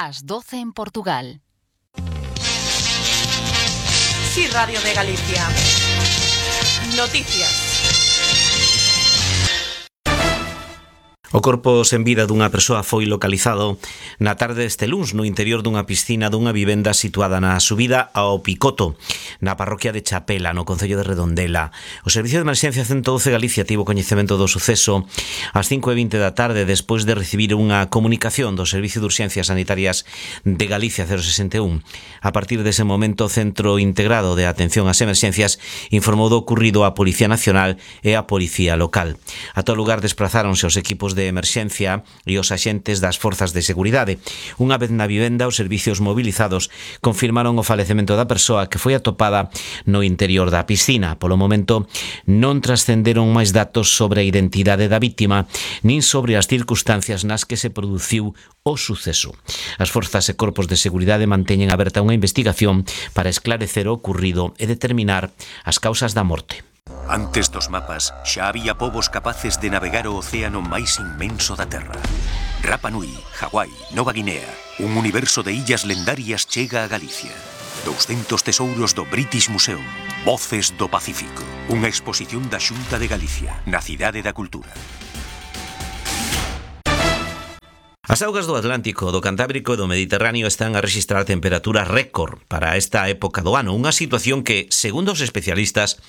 Las 12 en Portugal. Sí, Radio de Galicia. Noticias. O corpo sen vida dunha persoa foi localizado na tarde deste luns no interior dunha piscina dunha vivenda situada na subida ao Picoto, na parroquia de Chapela, no concello de Redondela. O Servicio de Emerxencia 112 Galicia tivo coñecemento do suceso ás 5:20 da tarde despois de recibir unha comunicación do Servicio de Urxencias Sanitarias de Galicia 061. A partir dese momento, o Centro Integrado de Atención ás Emerxencias informou do ocurrido á Policía Nacional e á Policía Local. A todo lugar desplazáronse os equipos de emerxencia e os axentes das forzas de seguridade. Unha vez na vivenda, os servicios mobilizados confirmaron o falecemento da persoa que foi atopada no interior da piscina. Polo momento, non trascenderon máis datos sobre a identidade da vítima nin sobre as circunstancias nas que se produciu o suceso. As forzas e corpos de seguridade manteñen aberta unha investigación para esclarecer o ocurrido e determinar as causas da morte. Antes dos mapas, xa había povos capaces de navegar o océano máis inmenso da Terra. Rapa Nui, Hawái, Nova Guinea, un universo de illas lendarias chega a Galicia. 200 tesouros do British Museum, Voces do Pacífico. Unha exposición da Xunta de Galicia, na Cidade da Cultura. As augas do Atlántico, do Cantábrico e do Mediterráneo están a rexistrar temperaturas récord para esta época do ano, unha situación que, segundo os especialistas,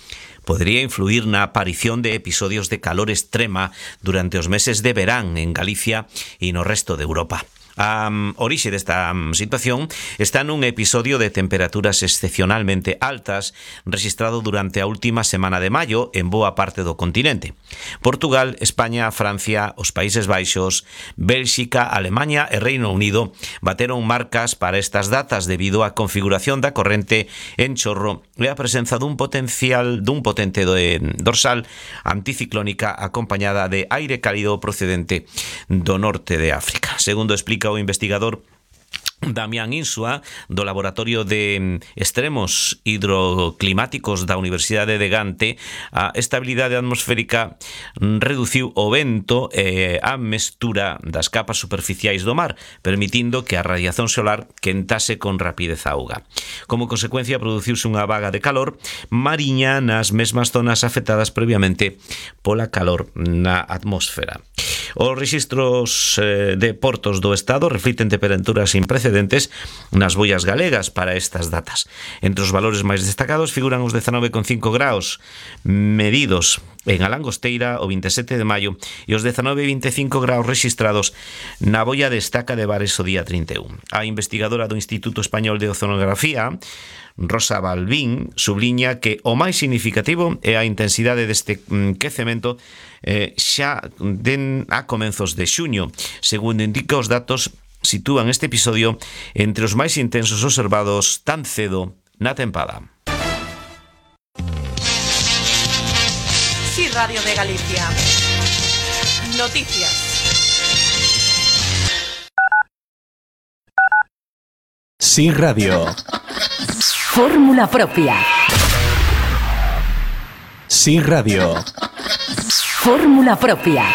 podría influir na aparición de episodios de calor extrema durante os meses de verán en Galicia e no resto de Europa. A orixe desta situación está nun episodio de temperaturas excepcionalmente altas registrado durante a última semana de maio en boa parte do continente. Portugal, España, Francia, os Países Baixos, Bélxica, Alemaña e Reino Unido bateron marcas para estas datas debido á configuración da corrente en chorro e a presenza dun potente dorsal anticiclónica acompañada de aire cálido procedente do norte de África. Segundo explica o investigador Damián Insua, do Laboratorio de Extremos Hidroclimáticos da Universidade de Gante, a estabilidade atmosférica reduciu o vento e a mestura das capas superficiais do mar, permitindo que a radiación solar quentase con rapidez a auga. Como consecuencia, produciuse unha vaga de calor mariña nas mesmas zonas afectadas previamente pola calor na atmosfera. Os rexistros de portos do Estado reflicten temperaturas sin precedentes nas boias galegas para estas datas. Entre os valores máis destacados figuran os 19,5 graus medidos en a Langosteira o 27 de maio e os 19,25 graus registrados na boia de Estaca de Bares o día 31. A investigadora do Instituto Español de Oceanografía, Rosa Balbín, subliña que o máis significativo é a intensidade deste quecemento xa a comenzos de xuño. Segundo indica os datos, sitúan este episodio entre os máis intensos observados tan cedo na tempada. Sí, Radio de Galicia. Noticias. Sí, Radio. Fórmula propia. Sí, Radio. Fórmula propia.